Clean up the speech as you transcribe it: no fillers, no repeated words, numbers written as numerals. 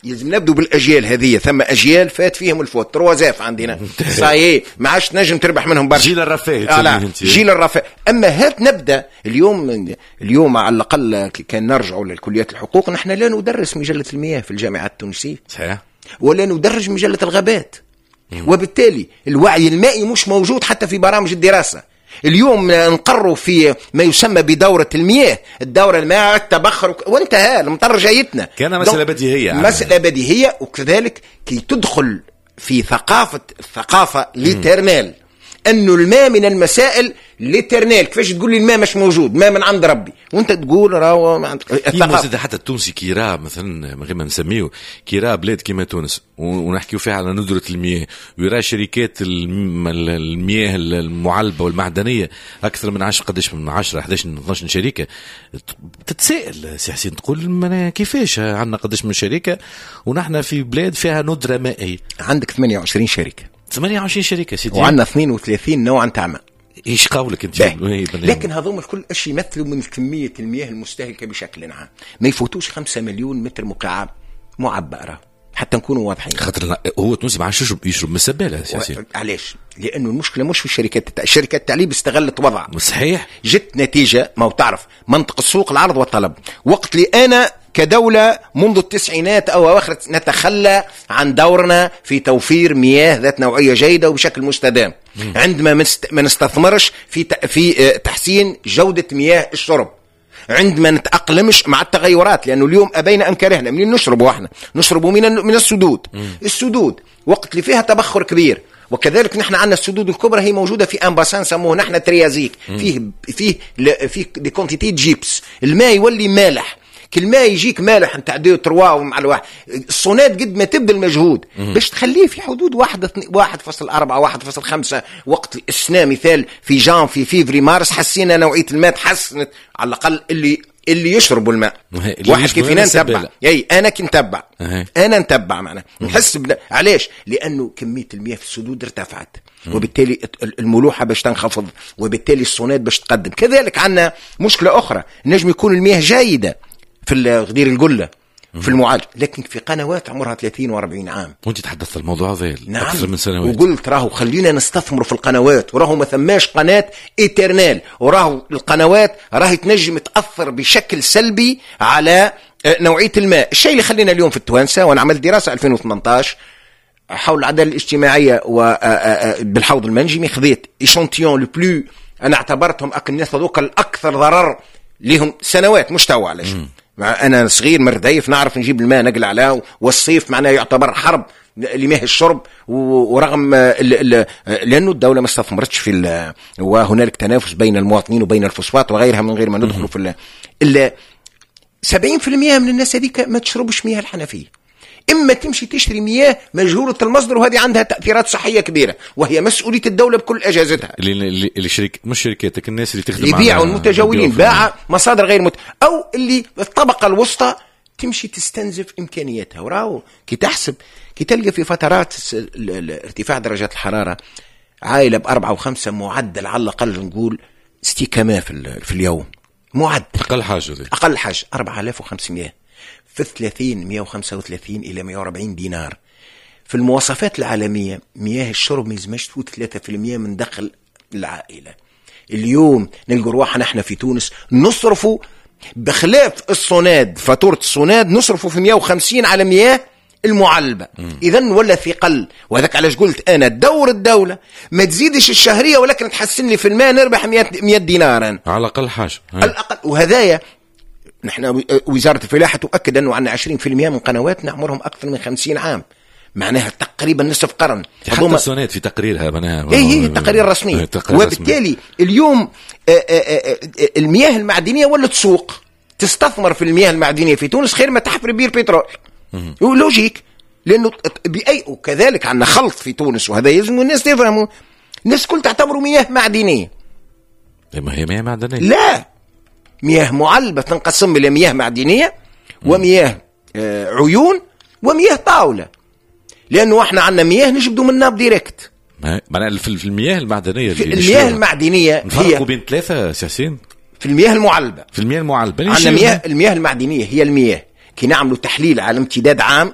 يلزم نبدو بالاجيال هذه. ثم اجيال فات فيهم الفوت، trois F عندنا، ça y est ما عادش تنجم تربح منهم برشا. جيل الرفاه. لا، جيل الرفاه. اما هات نبدا اليوم على الاقل كان نرجعوا للكليات الحقوق، نحن لا ندرس مجلة المياه في الجامعات التونسيه. صحيح. ولا ندرج مجلة الغابات. وبالتالي الوعي المائي مش موجود حتى في برامج الدراسة. اليوم نقروا في ما يسمى بدورة المياه، الدورة الماء التبخر وانتهى، المطر جايتنا. كان مسألة بديهية. مسألة بديهية. وكذلك كي تدخل في ثقافة، الثقافة l'éternelle، أنه الماء من المسائل l'éternelle. كيفاش تقول لي الماء مش موجود، ماء من عند ربي، وانت تقول راهو الثقافة. حتى التونسي كي راه مثلا، من غير ما نسميه، كي راه بلاد كيما تونس ونحكيو فيها على ندرة المياه، ويرى شركات المياه المعلبة والمعدنية أكثر من 10، قداش من 10، 11، 12 شركة، تتساءل سي حسين، تقول كيفاش عندنا قداش من شركة ونحن في بلاد فيها ندرة مائية؟ عندك 28 شركة. 28 شركة سيدي، وعندنا 32 نوع نتاع ماء. ايش قولك انت؟ لكن هذوم الكل ايش يمثلوا من كمية المياه المستهلكه بشكل عام؟ ما يفوتوش 5 مليون متر مكعب معبأة، حتى نكونوا واضحين. خاطر هو التونسي ما عادش يشرب من السباله. علاش؟ لانه المشكلة مش في الشركات، الشركات التعليب استغلت وضع. صحيح. جت نتيجة، ما هو تعرف منطق السوق، العرض والطلب. وقت اللي انا كدولة منذ التسعينات أو أواخر نتخلى عن دورنا في توفير مياه ذات نوعية جيدة وبشكل مستدام، عندما ما نستثمرش في تحسين جودة مياه الشرب، عندما نتأقلمش مع التغيرات، لأنه اليوم أبينا أم كرهنا منين نشربوا؟ احنا نشربوا من السدود. السدود وقت اللي فيها تبخر كبير، وكذلك نحن عندنا السدود الكبرى هي موجودة في un bassin سموه نحن triasique، فيه des quantités gypse، الماء يولي مالح. كل ما يجيك مالح نتاع deux trois ومع الواحد، الصوناد قد ما تبذل مجهود باش تخليه في حدود 1.4 1.5. وقت السنة مثال في جانفي فيفري مارس حسينا نوعية الماء تحسنت، على الأقل اللي يشربوا الماء. واحد كيف نتبع، اي انا كي نتبع، انا نتبع معنا نحس علاش؟ لانه كمية المياه في السدود ارتفعت، وبالتالي الملوحه باش تنخفض، وبالتالي الصوناد باش تقدم. كذلك عندنا مشكلة اخرى، نجم يكون المياه جيدة في غدير القلة في المعالج، لكن في قنوات عمرها 30 و40 عام. وانت تحدثت الموضوع هذا نعم. اكثر من سنوات، وقلت راهو خلينا نستثمر في القنوات، وراهو ما ثماش قناة éternelle، وراهو القنوات راهي تنجم تاثر بشكل سلبي على نوعية الماء. الشيء اللي خلينا اليوم في التوانسه، وانا عملت دراسة 2018 حول العدالة الاجتماعية وبالحوض المنجمي، خذيت échantillon le plus، انا اعتبرتهم الناس هذوك الاكثر ضرر لهم سنوات مش توا. علاش؟ انا صغير مرديف نعرف نجيب الماء نقل عليه، والصيف معناه يعتبر حرب لمياه الشرب، ورغم لانه الدولة ما استثمرتش في، وهنالك تنافس بين المواطنين وبين الفوسفات وغيرها من غير ما ندخل في 70% من الناس هذيك ما تشربش مياه الحنفية، اما تمشي تشتري مياه مجهولة المصدر، وهذه عندها تاثيرات صحية كبيرة، وهي مسؤولية الدولة بكل اجهزتها. اللي شريك مش شركاتك، الناس اللي تخدم يبيعوا المتجولين، باع مصادر غير او اللي الطبقة الوسطى تمشي تستنزف امكانياتها. وراو كي تحسب، كي تلقى في فترات ارتفاع درجات الحرارة عائلة ب4 و5 معدل على الاقل نقول استيكامه في اليوم، معدل اقل حاجة دي. اقل حاجة 4500 في 30 135 إلى 140 دينار. في المواصفات العالمية مياه الشرب ما يلزمش تفوت 3% من دخل العائلة. اليوم نلقوا رواحنا احنا في تونس نصرفوا بخلاف الصوناد، فاتورة الصوناد نصرفوا في 150 على مياه المعلبة. إذن ولا ثقل. وهذاك علاش قلت أنا دور الدولة ما تزيدش الشهرية، ولكن تحسن لي في الماء نربح 100 دينار أنا. على الأقل حاجة. على الأقل. وهذايا نحن وزارة الفلاحة تؤكد أنه عندنا 20% من قنواتنا عمرهم أكثر من 50 عام، معناها تقريبا نصف قرن. حتى السونات في تقريرها معناها اي تقارير رسمية. وبالتالي اليوم المياه المعدنية ولا تسوق، تستثمر في المياه المعدنية في تونس خير ما تحفر بير بترول. logique، لأنه بأي. وكذلك عندنا خلط في تونس، وهذا يلزم الناس تفهموا. الناس كل تعتبروا مياه معدنية. ما هي مياه معدنية؟ لا، مياه معلبة تنقسم إلى مياه معدنية ومياه عيون ومياه طاولة، لأنه احنا عندنا مياه نجبدوا من nappe directe. معناها في المياه المعدنية، في المياه المعدنية نفرقوا بين ثلاثة سي حسين. في المياه المعلبة، في المياه المعلبة عندنا مياه، المياه المعدنية هي المياه كي نعملوا تحليل على امتداد عام.